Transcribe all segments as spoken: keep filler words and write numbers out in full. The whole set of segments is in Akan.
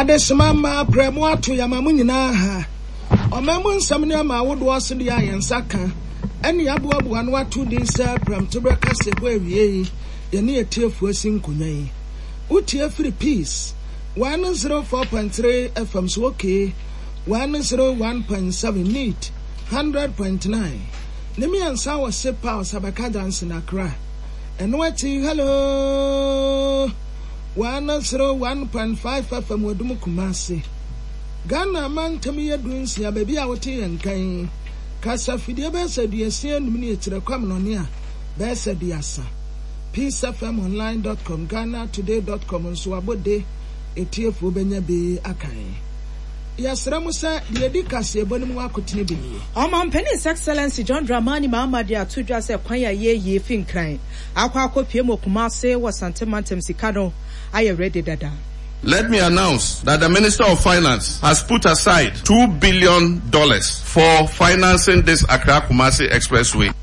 Adesoma mmaa prɛ mo ato yɛma mo nyinaa ha. Ɔman mu nsɛm ne ama ahodoɔ so deɛ a yɛn nsa ka ɛne aboaboa no ato din sɛ prɛmtoberɛ kaseɛbɔ awie yi, yɛne yɛtiefoɔ asi nkonnwa yi. Wotie firi Peace one oh four point three F M so, okay, one oh one point seven, Neat one hundred point nine ne mmiɛnsa wɔ Sepa Ɔsabɛka Johnson Accra. Ɛno akyi, hello, one oh one point five F M Wadum Kumase. Ghana mantam yɛ du nsia, baabi a wote yɛn kan kasa fidie bɛyɛ sɛ aduasia enum ne akyerɛ kwam nɔne a bɛyɛ sɛ aduasa. peace F M online dot com, Ghana Today dot com nso abɔde etiefoɔ bɛnya bi akan. Yɛsrɛ mo sɛ deɛ ɛdi kaseɛbɔ no mu akotene bi nie. Ɔmampanin His Excellency John Dramani Mahama de ato dwa sɛ kwan a yɛyie fi Nkran akɔ akɔpie mu Kumase wɔ Santemantam, sika no ayɛ ready dada. Let me announce that the Minister of Finance has put aside two billion dollars for financing this Accra Kumasi Expressway.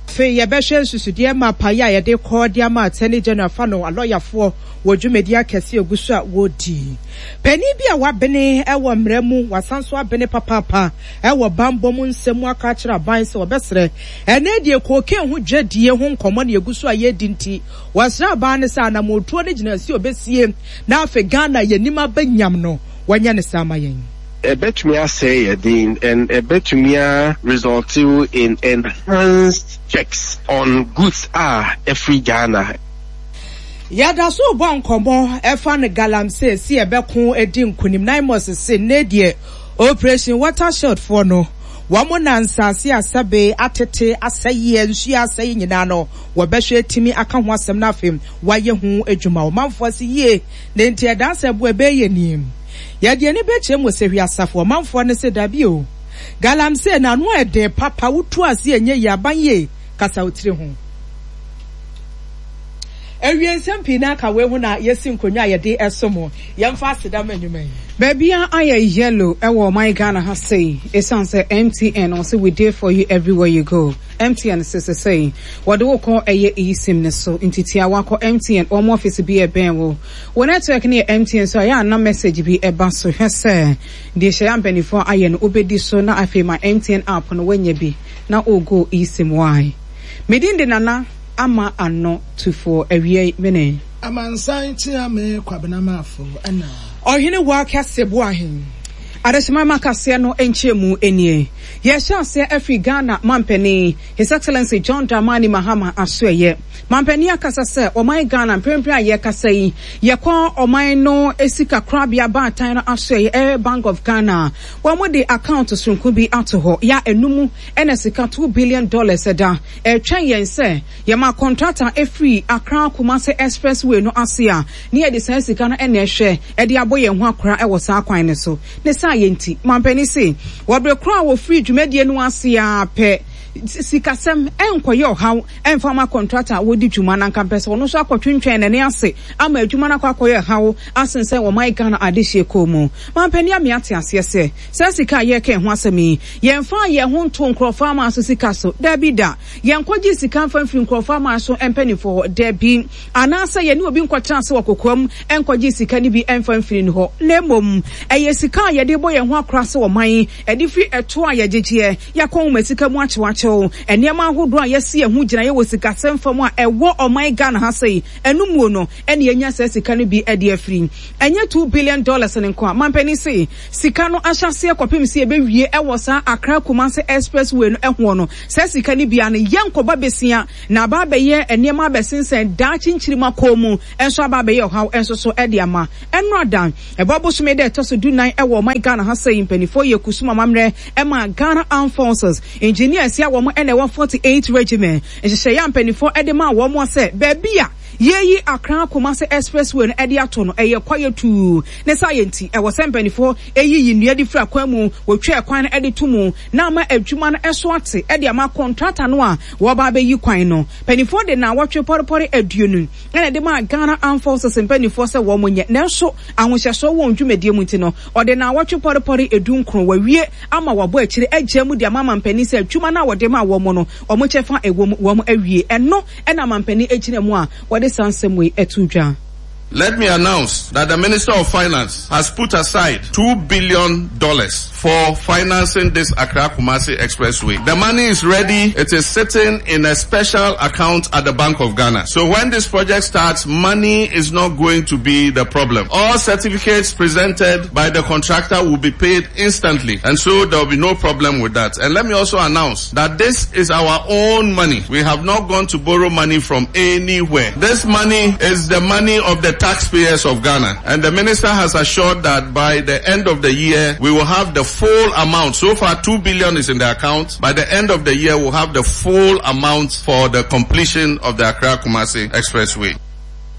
Afei yɛbɛhwɛ nsusudeɛ ma apaeɛ a yɛde kɔ de ama Attorney General fa no alɔyafoɔ wɔ dwumadi akɛse egu so a wɔredi. Panin bi a wabene wɔ mmerɛ mu, wasan so abene papaapa wɔ bambɔ mu nsɛm mu, aka akyerɛ aban sɛ wɔbɛsrɛ ɛnɛ deɛ cocaine ho dwadie ho nkɔmmɔ ne egu so a yɛredi, nti wɔsrɛ aban no sɛ anamotuo no gyina si obesie na afei Ghana yɛnim aba nyam no, wɔnyɛ ne saa ma yɛn. Ɛbɛtumi asɛe yɛ den and ɛbɛtumi a result in enhanced checks on goods a ɛfiri Ghana. Yɛda so bɔ nkɔmmɔ ɛfa no galamsey si ɛbɛko edi nkunim. Naimos se ne deɛ Operation Water Shield foɔ no, wɔn na nsase asɛbe atete asɛyɛ, nsuo asɛyɛ nyinaa no, wɔbɛhwɛ timi aka ho asɛm no, afei wɔayɛ ho adwuma. Ɔmanfoɔ se yie na nti ɛda sɛ bo ɛbɛyɛ nim. Yɛde ani bɛkyerɛ mu sɛ hwi asafo ɔmanfoɔ no se dabi o, galamsey na ano ɛden papa, wotu ase ɛnyɛ yie, aban yie kasa wo tiri ho. Awie nsɛm pii na aka wei ho na yɛsi nkonnwa a yɛde ɛso mo. Yɛmfa aseda ma nnwuma yi. Baabi a ayɛ yellow ɛwɔ ɔman Ghana ha sei, ɛsiane sɛ M T N ɔsɛ we there for you everywhere you go. M T N sese sɛi wɔde wo kɔ ɛyɛ eSIM ne so, nti tia wakɔ M T N wɔn office bi ɛbɛn wo. Wɔ network no yɛ M T N so a, yɛ ana message bi ɛba so, hwɛ sɛ deɛ hyɛ yɛ mpanimfoɔ ayɛ no wobɛdi so, na afei ma M T N app no wanya bi na o go eSIM. Why medin de Nana Ama Ano Tufoɔ awie mene. Amansan tia me Kwabena Maafo ɛna. Ɔhene wɔ akɛse bo ahen. Adehyema ma kaseɛ no nkyɛn mu nie. Yɛhyɛ aseɛ afiri Ghana mampanin His Excellency John Dramani Mahama asoɛyɛ. Mampanin akasa sɛ ɔman Ghana mprempren a yɛkasa yi, yɛkɔ ɔman no sika korabea baatan no asoɛyɛ, ɛyɛ Bank of Ghana, wɔn de account soronko bi ato hɔ ya enum ɛna sika two billion dollars ɛda ɛtwɛn yɛn sɛ yɛma contractor efiri Accra Kumasi Expressway no ase a, ne yɛde saa sika no ɛna ɛhwɛ ɛde abɔ yɛn ho akora ɛwɔ saa kwan no so. Ne saa yɛ nti, mampanin se wɔbere koro a wɔfiri dwumadie no ase a pɛ, sikasɛm ɛnkɔyɛ ɔhaw ɛmfa ma contractor a wɔdi dwuma na nka mpɛ sɛ ɔno nso akɔtwentwɛn n'ani ase ama adwuma no akɔ akɔyɛ haw asensɛn wɔn Ghana adehyeɛ kɔn mu. Mampanin ame ate aseɛ sɛ saa sika a yɛreka ho asɛm yi, yɛmfa yɛn ho nto nkurɔfoɔ ama so sika so, daabi da. Yɛnkɔgye sika mfa mfiri nkurɔfoɔ ama so mpanimfoɔ hɔ, daabi, anaasɛ yɛne obi nkɔtena ase wɔ kokoam nkɔgye sika no bi mfa mfiri no hɔ, na mmom ɛyɛ sika a yɛde bɔ yɛn ho akora sɛ ɔman, ɛde firi ɛto a yɛgyegyeɛ, yɛakɔ nwoma sika mu akyewakyew nneɛma ahodoɔ a yɛsi yɛn ho gyinaeɛ wɔ sikasɛm fam a ɛwɔ ɔman Ghana ha sei, ɛno muo no ɛne yɛnya saa sika no bi ɛde afiri. Ɛnyɛ two billion dollars ne nko a mampanin se sika no ahyɛseɛ kɔpem sɛ yɛbɛwie ɛwɔ saa Accra Kumase Expressway no ɛhoɔ no, saa sika no bia no yɛnkɔba besia na aba abɛyɛ nneɛma abɛsensɛn daakye nkyirima kɔn mu nso aba abɛyɛ ɔhaw nso so ɛde ama. Ɛno ada ɛbɔ bosome dɛ ɛtɔ so dunan ɛwɔ ɔman Ghana ha sɛ mpanimfoɔ yɛ kusum amammerɛ ɛma Ghana Armed Forces engineers a wɔn ɛna ɛwɔ forty eight Regiment. Nhyehyɛeɛ a mpanimfoɔ ɛde ma wɔn sɛ baabi a yɛyi Accra Kumase Expressway no ɛde ato no ɛyɛ kwaeɛ tuu ne saa yɛ, nti ɛwɔ sɛ mpanimfoɔ ɛyiyi nnua de firi akwan mu, wɔtwa kwan no ɛde to mu na ama adwuma no ɛso ate ɛde ama contractor no a wɔba abɛyi kwan no. Mpanimfoɔ de na wɔtwe pɔrepɔre aduonu ɛna ɛde ma Ghana Armed Forces mpanimfoɔ sɛ wɔn nyɛ, nanso ahohyɛsoɔ wɔ dwumadie mu nti no, ɔde na wɔtwe pɔrepɔre edu nkron wɔawie ama wɔabɔ akyire agya mu de ama mampanin sɛ adwuma no a wɔde ma wɔn no, wɔn kyɛfa ɛwɔ mu wɔn awie. Ɛno ɛna mampanin gyina mu a wɔde saa nsɛm wei ɛto dwa. Let me announce that the Minister of Finance has put aside two billion dollars for financing this Accra-Kumasi Expressway. The money is ready. It is sitting in a special account at the Bank of Ghana. So when this project starts, money is not going to be the problem. All certificates presented by the contractor will be paid instantly. And so there will be no problem with that. And let me also announce that this is our own money. We have not gone to borrow money from anywhere. This money is the money of the taxpayers of Ghana. And the minister has assured that by the end of the year, we will have the full amount. So far, two billion is in the account. By the end of the year, we'll have the full amount for the completion of the Accra-Kumasi Expressway.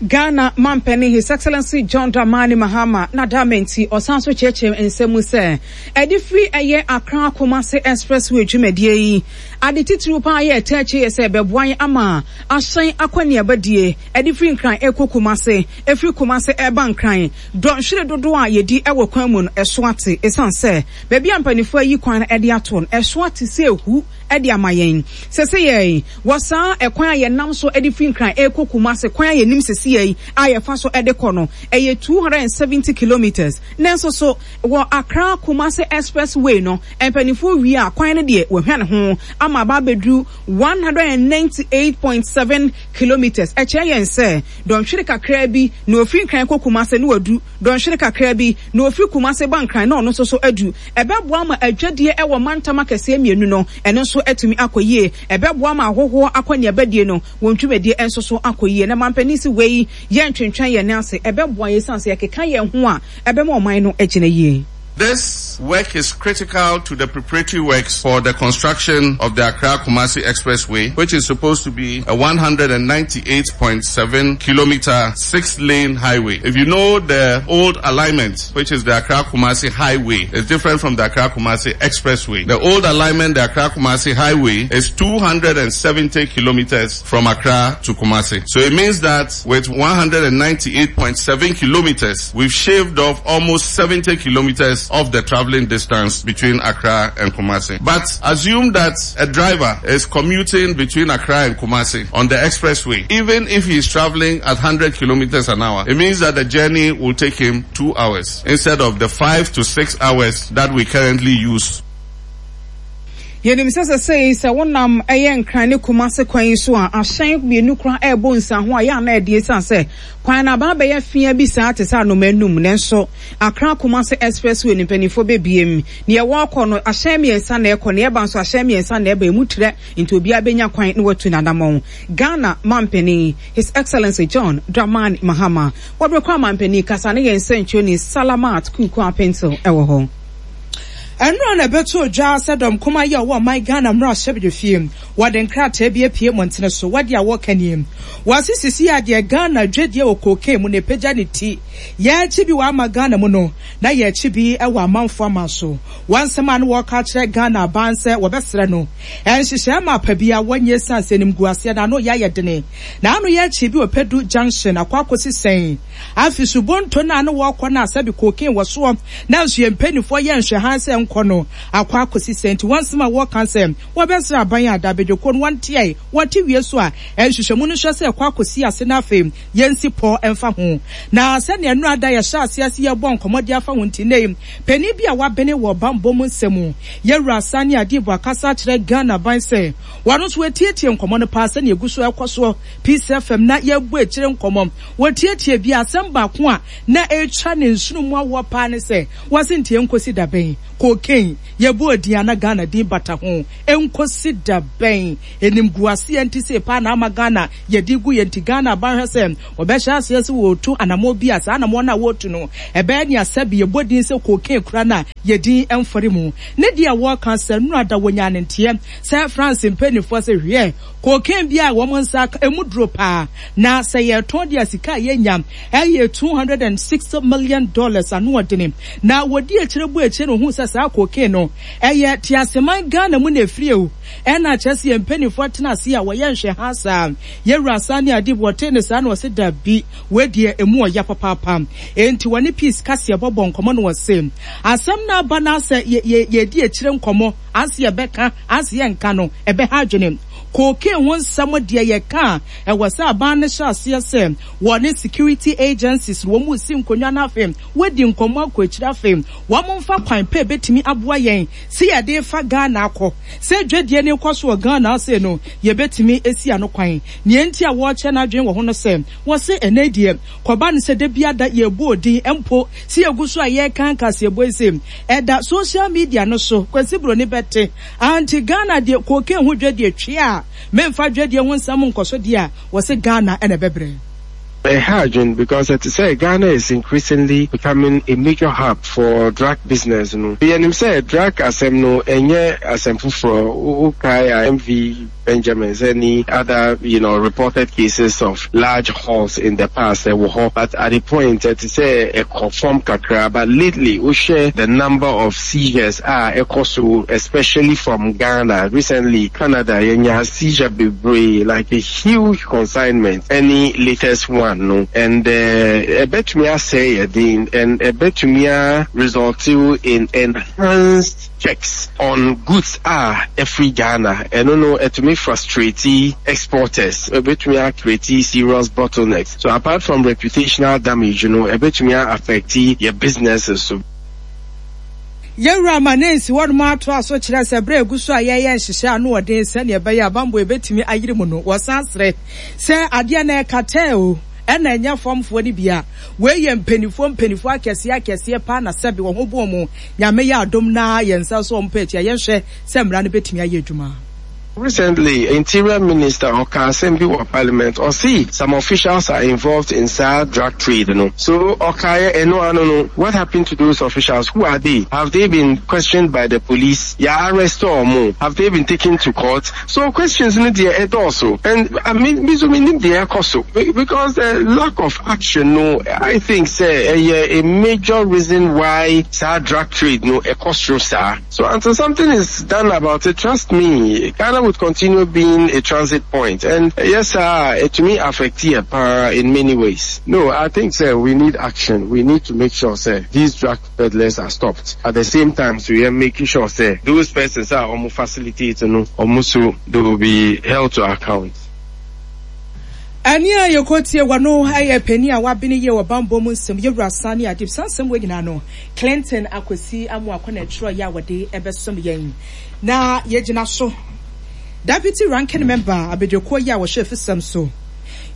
Ghana Mampani, His Excellency John Dramani Mahama, na damenti osanso cheche nsemu se edifri eye Accra Kumasi Expressway dwumadie yi ade titiri pa ye teche ye se beboan ama ahyen akwani abadie edifri nkran ekɔ Kumasi efri Kumasi eba nkran don hwere dodo a yedi ewo kwan mu no eso ate esan se ba bia mpanifo ayi kwan ede ato no eso ate se ehu ede amayen sese ye wosa ekwan ye nam so edifri nkran ekɔ Kumasi kwan ye nim sese ye ayefa so ede kɔ no eye two hundred seventy kilometers nenso so wo Accra Kumasi Expressway no mpanifo wi a kwan ne de wo hwane ho ama ba bedru one hundred ninety-eight point seven kilometers eche yen se don hwere kakra bi na ofiri nkran kɔ Kumasi no wadu don hwere kakra bi na ofiri Kumasi ba nkran na ono so so adu ebeboa ma adwadie ewo mantama kese mienu no eno so atumi akoyie ebeboa ma ahoho akɔne abadie no won twumedie enso so akoyie na mampani si wei ye ntwentwen ye ne ase ebeboa ye sanse ye keka ye ho a ebema oman no agina yie. This work is critical to the preparatory works for the construction of the Accra-Kumasi Expressway, which is supposed to be a one hundred ninety-eight point seven kilometer six-lane highway. If you know the old alignment, which is the Accra-Kumasi Highway, it's different from the Accra-Kumasi Expressway. The old alignment, the Accra-Kumasi Highway, is two hundred seventy kilometers from Accra to Kumasi. So it means that with one hundred ninety-eight point seven kilometers, we've shaved off almost seventy kilometers of the traveling distance between Accra and Kumasi. But assume that a driver is commuting between Accra and Kumasi on the expressway. Even if he is traveling at one hundred kilometers an hour, it means that the journey will take him two hours instead of the five to six hours that we currently use. Yenim sese sei se wonam eye nkran ne Kumasi kwan so a ahyen mienu kra ebo nsa ho a ya na ede san se kwan na ba ba fia bi saa te sa no manum nenso Accra Kumasi Expressway ni mpanifo bebiem ne ye wokɔ no ahyen miensa na ekɔ ne eba nso ahyen miensa na eba emu tre nti obi abenya kwan ne watu nadamon. Ghana mampani His Excellency John Dramani Mahama wobrekwa mampani kasa ne ye nsentwo ni Salamat Kuku Apento ewo ho. Enro na beto dwa sedom kuma ye wo my Ghana mra hyebde fie wode nkrata bia pie montene so wode a wokani wasisisi ade Ghana dwedie wo koke mu ne pagya ne ti ye chi bi wa ama Ghana mu no na ye chi bi e wa amanfo ama so wansema no wo ka kire Ghana banse wo besere no enhyehyɛ ma pa bia wonye sanse nim guase na no ya ye dene na ano ye chi bi opedu junction akwa akosi afi subonto na no wo kɔ na asabi koke wo so na nso ye mpanifo ye nhwe hanse nkono akwa akosi senti wansema wo kanse wo besere aban adabedwo no wantie wote wie so a enhyehyɛ mu no hwɛ sɛ kwa akosi ase na afei yensi po emfa ho na sɛ ne enu ada ye hye ase ase ye bɔ nkɔmɔde afa ho ntine pani bi a wabene wɔ bambɔ mu nsɛmu ye wura ne ade bo akasa kyerɛ Ghana ban sɛ wɔno so etietie nkɔmɔ no pa sɛ ne egu so ekɔ Peace F M na ye bu ekyire nkɔmɔ wotietie bi asɛm baako a na etwa ne nsunu mu awɔ pa ne sɛ wɔse ntie nkosi dabɛn cocaine ye bu odin na Ghana din bata ho enkosi dabɛn enimguase enti se pa na ama Ghana ye digu ye nti Ghana ban hwɛ sɛ obɛhyɛ ase se wotu anamo bi asa anamo na wotu no ebe ne asabi ye bodin sɛ cocaine kura na ye din emfori mu ne de wo kan sɛ nu ada wonya ne ntie sɛ France mpanifo sɛ hwe cocaine bi a wo nsa emudro pa na sɛ ye ton de asika ye nyam eye two hundred sixty million dollars anu odene na wodi ekyire bu ekyire no hu sɛ saa cocaine no eye tiaseman Ghana mu na efiri o e na kyerɛ sɛ mpanifo tena ase a wɔyɛ nhwɛ ha saa ye wura ne ade wɔte ne saa na wɔse da bi we de emu ɔya papapa enti wɔne peace kase bɔbɔ nkɔmɔ no wɔse asɛm na aba na sɛ ye ye di ekyire nkɔmɔ anse ye bɛka anse ye nka no ebe ha adwene Cocaine ho nsɛm deɛ yɛka a, ɛwɔ sɛ aban no hyɛ aseɛ sɛ wɔne security agencies wɔn mu si nkonnwa no, afei wɔadi nkɔmmɔ akɔ akyire, afei wɔn mfa kwan pɛ bɛtumi aboa yɛn sɛ yɛde fa Ghana akɔ sɛ dwadie ne kɔ so wɔ Ghana ase no, yɛbɛtumi esi ano kwan. Nea nti a wɔrekyɛ n'adwene wɔ ho no sɛ wɔse ɛnɛ deɛ kɔba no sɛ da biada yɛbɔ odin mpo sɛ yɛgu so a yɛreka nkaseɛbɔ yi sɛ ɛda social media no so, Kwasi Buroni bɛte anti Ghana deɛ cocaine ho dwadie twe a memfa dwadie ho nsɛm nkɔ so deɛ a wɔse Ghana ɛna ɛbɛbrɛ. Ɛha adwene because ɛte sɛ Ghana is increasingly becoming a major hub for drug business no. Yɛnim sɛ drug asɛm no ɛnyɛ asɛm foforɔ. Wokae a M V Benjamins, any other you know reported cases of large hauls in the past ɛwɔ hɔ, but at the point ɛte sɛ ɛkɔ fam kakra. But lately wohwɛ the number of seizures a ɛkɔ so, especially from Ghana, recently Canada yɛnya seizure bebree, like a huge consignment, any latest one no, and ɛbɛtumi asɛe yɛ den and ɛbɛtumi a result in enhanced checks on goods a ɛfiri Ghana. Ɛno no ɛtumi frustrate exporters, ɛbɛtumi a create serious bottlenecks. So apart from reputational damage no, ɛbɛtumi a affect yɛ businesses so. Yɛwura ma ne nsi wɔnom ato aso kyerɛ sɛ berɛ egu so a yɛyɛ nhyehyɛ ano ɔden sɛnea ɛbɛyɛ abambɔ ebɛtumi ayere mu no, wɔsan serɛ sɛ adeɛ no ɛkatɛ o, ɛna ɛnyɛ fɔmfoɔ no bia. Wei yɛ mpanimfoɔ mpanimfoɔ akɛseɛ akɛseɛ paa na sɛbi wɔn ho bɔn mu. Nyame yɛ adom na yɛn nsa so wɔn pɛ akyi a yɛnhwɛ sɛ mmara no bɛtumi ayɛ adwuma. Recently, Interior Minister ɔka asɛm bi wɔ Parliament. Ɔse some officials are involved in saa drug trade no. So ɔkaeɛ ɛno ano no, what happened to those officials? Who are they? Have they been questioned by the police? Yɛ arrest ɔmo? Have they been taken to court? So questions no deɛ ɛdɔɔso, and I mean, me nso menim deɛ ɛkɔ so because the lack of action no, I think sɛ ɛyɛ a major reason why saa drug trade no ɛkɔ soro saa. So until something is done about it, trust me, Ghana would continue being a transit point. And uh, yes, sir, it to me affect here in many ways. No, I think, sir, we need action. We need to make sure, sir, these drug peddlers are stopped. At the same time, so we are making sure, sir, those persons are almost facilitating, almost so they will be held to account. Ɛne a yɛkɔtie wɔ no ɛyɛ panin a wabene yie wɔ bambɔ mu nsɛm, yɛwura Sani Adib. Saa nsɛm wɔ nyinaa no, Clinton Akwasi Amoakɔ na ɛtwerɛ yɛ a wɔde ɛbɛsom yɛn na yɛgyina so. Deputy Ranking Member abadwakuo yi a wɔhyɛ fisɛm so,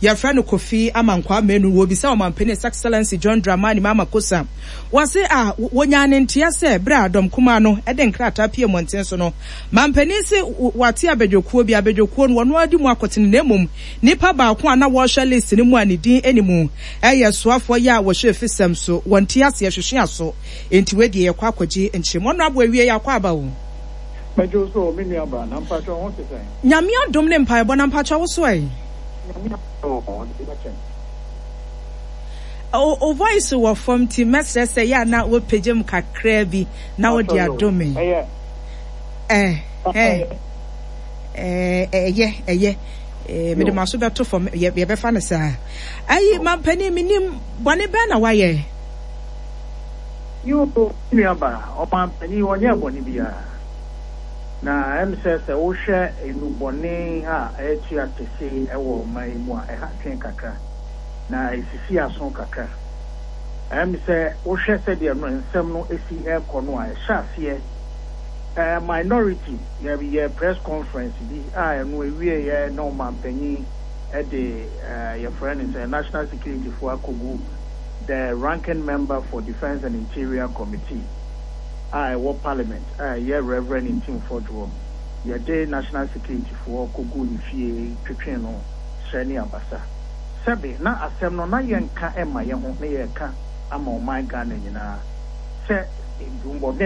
yɛfrɛ no Kofi Amankwa Menu, wɔbisa ɔmampanin His Excellency John Dramani Mahama Kosa. Wɔse a wɔnya ne nteɛ sɛ berɛ a dɔm kumaa no de nkrataa pie mmɔnten so no, mampanin se wate abadwakuo bi, abadwakuo no wɔno adi mu akɔtene, na mmom nipa baako a na wɔrehwɛ list no mu a ne din anim ɛyɛ soafoɔ yi a wɔhyɛ fisɛm so, wɔnte aseɛ hwehwe aso. Enti wedeɛ yɛkɔ akɔgye nkyerɛmu. Ɔno abo awie yɛ akɔ aba o. Mɛdwo so, me nua ba, na mpatwa ho te sɛn? Nyame adom ne mpaebɔ, na mpatwa wo so ɛ? Nyame adom, ɔde bɛkyɛn. O o voice wɔ fam nti mɛsrɛ sɛ yɛ a na wopagya mu kakraa bi na wode adome. Ɛyɛ. ɛ ɛ ɛyɛ ɛyɛ mede ma so bɛto fam, yɛbɛfa no saa. Ayi, mampanin, menim bɔne bɛn na wayɛ? Yo, nua ba, ɔmampanin ɔnyɛ bɔne biara. Na ɛm sɛ sɛ wohwɛ nnubɔne a ɛtua kɛse ɛwɔ ɔman yi mu a, ɛha twɛn kakra na esisi aso kakra. Ɛm sɛ wohwɛ sɛdeɛ no nsɛm no esi ɛrekɔ no a, ɛhyɛ aseɛ ɛɛ minority yɛ yɛ press conference bi a ɛno ewie yɛ na ɔmanpanyin ɛde ɛɛ yɛfrɛ no sɛ National Security fo akɔgu the Ranking Member for Defence and Interior Committee a ɛwɔ Parliament a ɛyɛ Reverend Ntim Fordjour, yɛde National Security foɔ kɔgu ne fie twetwe no srɛ ne abasa. Sɛbe na asɛm no na yɛnka ɛma yɛn ho na yɛka ama ɔman Ghana nyinaa sɛ ndumbɔden.